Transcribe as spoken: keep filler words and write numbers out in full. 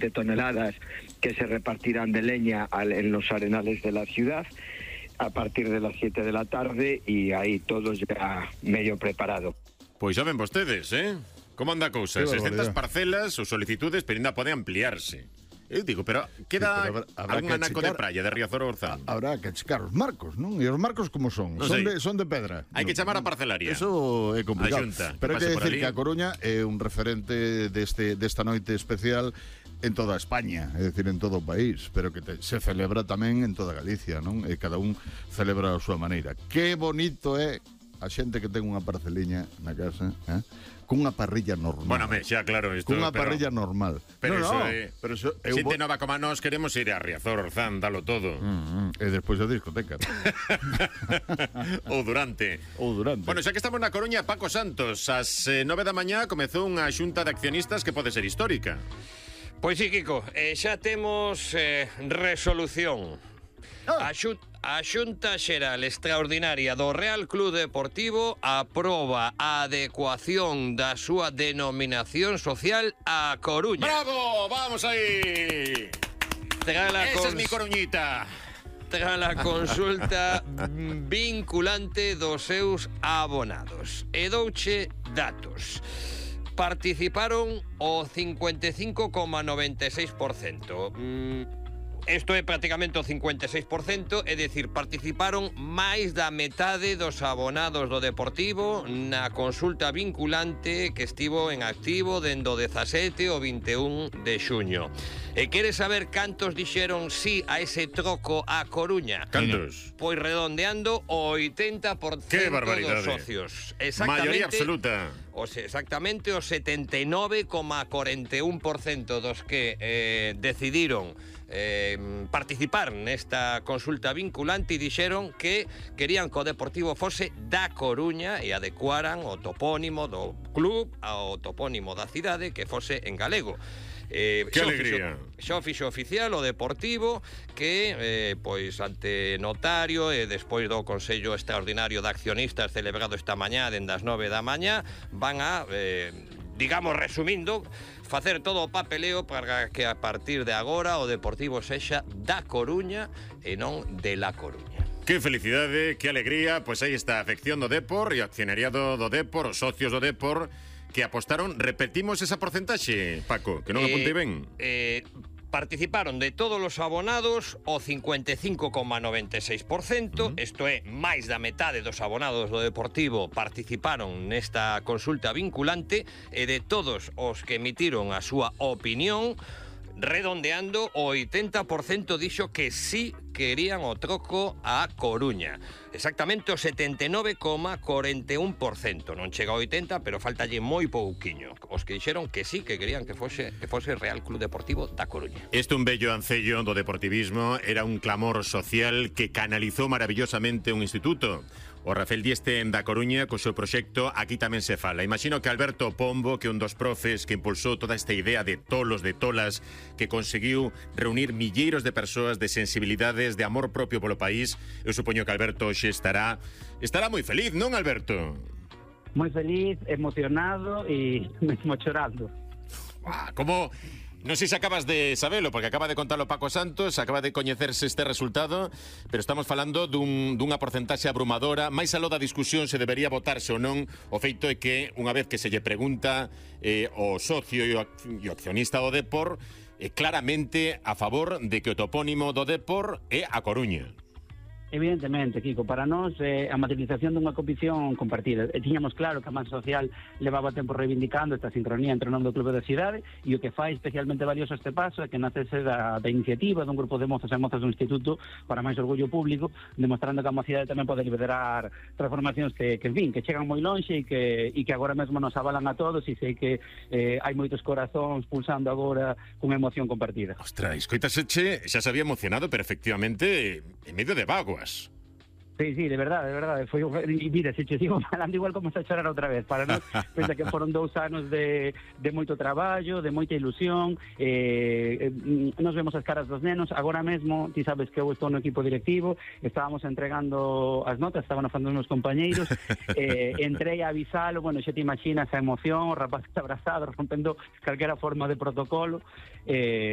de toneladas que se repartirán de leña al, en los arenales de la ciudad a partir de las siete de la tarde y ahí todo ya medio preparado. Pois xa ven vostedes, eh? Como anda a cousa? seiscentas parcelas ou solicitudes, pero ainda pode ampliarse. Eu digo, pero queda sí, pero habrá, habrá algún anaco checar, de praia de Riazor Orzán. Habrá que checar os marcos, non? E os marcos como son? Non son, de, son de pedra. Hai que chamar a parcelaria. Eso é complicado. Xunta, pero hai que decir que a Coruña é un referente deste, desta noite especial en toda España, é dicir, en todo o país, pero que te, se celebra tamén en toda Galicia, non? E cada un celebra a súa maneira. Que bonito é a xente que ten unha parceliña na casa, eh? Cunha parrilla normal. Bueno, me, xa, claro, isto, cunha pero, parrilla normal. Pero no, eso no, é... Pero eso é xente bo... nova como nós queremos ir a Riazor, Orzán, dalo todo. Mm, mm, e despois a discoteca. Ou durante. Ou durante. Bueno, xa que estamos na Coruña, Paco Santos, ás eh, nove da mañá comezou unha xunta de accionistas que pode ser histórica. Pois sí, Kiko, eh, xa temos eh, resolución. Ah. A xunta A Xunta Xeral Extraordinaria do Real Club Deportivo aproba a adecuación da súa denominación social a Coruña. ¡Bravo! ¡Vamos aí! Esa cons... es mi Coruñita. Tras a consulta vinculante dos seus abonados. E douche datos. Participaron o cincuenta e cinco coma noventa e seis por cento. Mm, Isto é prácticamente o cincuenta e seis por cento, é dicir, participaron máis da metade dos abonados do Deportivo na consulta vinculante que estivo en activo dende o dezasete ao vinte e un de xuño. E queres saber cantos dixeron sí a ese troco a Coruña? Cantos? Pois redondeando o oitenta por cento dos socios. Maioría absoluta. O sea, exactamente o setenta e nove coma cuarenta e un por cento dos que eh, decidiron eh, participar nesta consulta vinculante e dixeron que querían que o Deportivo fose da Coruña e adecuaran o topónimo do club ao topónimo da cidade que fose en galego. Eh, que alegría. Xa o fixo oficial o Deportivo que, eh, pois, ante notario e despois do Consello Extraordinario de Accionistas celebrado esta mañá dende as nove da mañá van a, eh, digamos, resumindo, facer todo o papeleo para que a partir de agora o Deportivo sexa da Coruña e non de La Coruña. Que felicidade, que alegría. Pois aí está a afección do Depor e o accionariado do Depor, os socios do Depor que apostaron. Repetimos esa porcentaxe, Paco, que non eh, apuntei ben. Eh, participaron de todos os abonados o cincuenta e cinco coma noventa e seis por cento, uh-huh. Isto é, máis da metade dos abonados do Deportivo participaron nesta consulta vinculante e de todos os que emitiron a súa opinión, redondeando, o oitenta por cento dixo que sí querían o troco a Coruña. Exactamente o setenta e nove coma cuarenta e un por cento. Non chega ao oitenta, pero faltalle moi pouquiño. Os que dixeron que sí, que querían que fose que fose Real Club Deportivo da Coruña. Este un bello ancello do deportivismo, era un clamor social que canalizou maravillosamente un instituto. O Rafael Dieste da Coruña, co seu proxecto Aquí tamén se fala. Imagino que Alberto Pombo, que é un dos profes que impulsou toda esta idea de tolos, de tolas, que conseguiu reunir milleiros de persoas de sensibilidades, de amor propio polo país, eu supoño que Alberto xe estará estará moi feliz, non, Alberto? Moi feliz, emocionado e mesmo chorando. Ah, como... Non sei se acabas de sabelo, porque acaba de contalo Paco Santos, acaba de coñecerse este resultado, pero estamos falando dun, dunha porcentaxe abrumadora. Mais aló da discusión se debería votarse ou non, o feito é que, unha vez que se lle pregunta eh, o socio e o, e o accionista do Depor, eh, claramente a favor de que o topónimo do Depor é A Coruña. Evidentemente, Kiko, para nós é a materialización dunha convicción compartida. E tiñamos claro que a masa social levaba tempo reivindicando esta sincronía entre o nome do clube da cidade, e o que fai especialmente valioso este paso é que nacese da, da iniciativa dun grupo de mozos e mozas do Instituto para máis orgullo público, demostrando que a mocidade tamén pode liderar transformacións que, que, en fin, que chegan moi lonxe e que, e que agora mesmo nos avalan a todos, e sei que eh, hai moitos corazóns pulsando agora cunha emoción compartida. Ostras, escoitaseche, xa se había emocionado, pero efectivamente en medio de vago. Sí, sí, de verdade, de verdade. Foi, e mira, se che sigo falando igual como a chorar outra vez. Para nós, pensa que foron dous anos de, de moito traballo, de moita ilusión. Eh, eh, nos vemos as caras dos nenos. Agora mesmo, ti sabes que eu estou no equipo directivo, estábamos entregando as notas, estaban facendo os compañeiros. Eh, entrei a avisalo, bueno, xa te imaginas a emoción, o rapaz abrazado, rompendo calquera forma de protocolo. Eh,